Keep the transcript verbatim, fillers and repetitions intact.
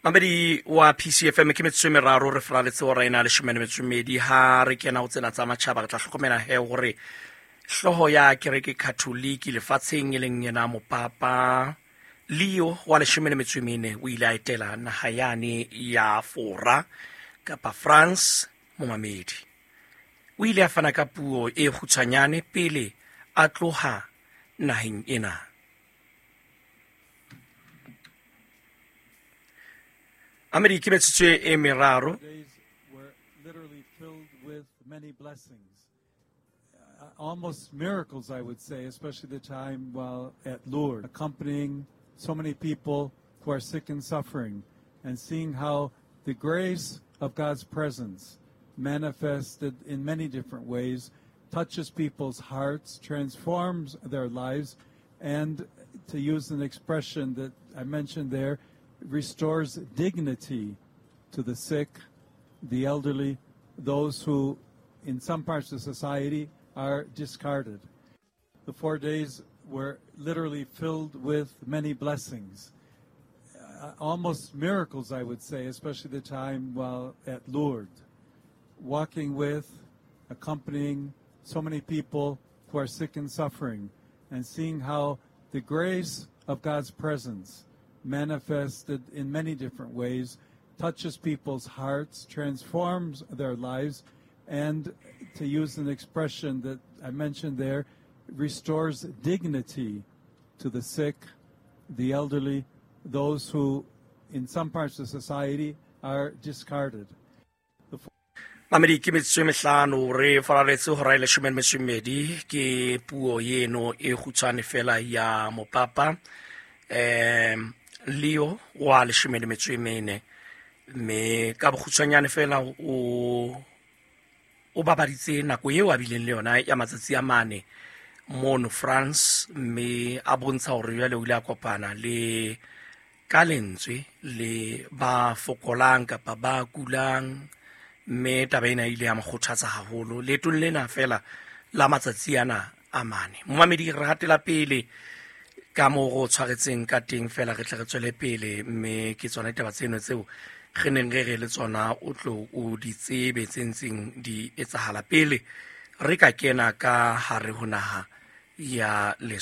Mamedi wa P C F M ke metsotso e meraro re fraletse hora ena leshome le metso e mmedi. Ha re kena ho tsena tsa matjhaba re tla hlokomela he hore hlooho ya kereke Katholiki lefatsheng e leng yena mopapa Leo wa leshome le metso e mene o ile a etela naha yane ya Fora kapa France. Momamedi o ile a fana ka puo e kgutshwanyane pele a tloha naheng ena. Amedi ke metsotso e meraro. Days were literally filled with many blessings, uh, almost miracles, I would say, especially the time while at Lourdes, accompanying so many people who are sick and suffering, and seeing how the grace of God's presence manifested in many different ways touches people's hearts, transforms their lives, and, to use an expression that I mentioned there, restores dignity to the sick, the elderly, those who in some parts of society are discarded. The four days were literally filled with many blessings, uh, almost miracles, I would say, especially the time while at Lourdes, walking with, accompanying so many people who are sick and suffering, and seeing how the grace of God's presence manifested in many different ways touches people's hearts, transforms their lives, and, to use an expression that I mentioned there, restores dignity to the sick, the elderly, those who in some parts of society are discarded. Mamedi ke metsotso e mehlano re faraletse hora e leshome le metso e mmedi. Ke puo eno e kgutshwane fela ya mopapa um Leo wa leshome le metso e mene, mme ka bokgutshwanyane fela o o babaditse nako eo a bileng le yona ya matsatsi a mane mono France, mme a bontsha hore jwale o ile a kopana le ka lentswe le ba fokolang kapa ba kulang, mme taba ena e ile ya mo kgothatsa haholo leetong lena fela la matsatsi ana a mane. Momamedi, re hatela pele ka moo go tshwaretseng ka teng fela, re tle re tswele pele, mme ke tsona ditaba tseno tseo re neng re re le tsona o tlo o di tsebe tse ntseng di etsahala pele re ka kena ka hare ho naha ya Lesotho.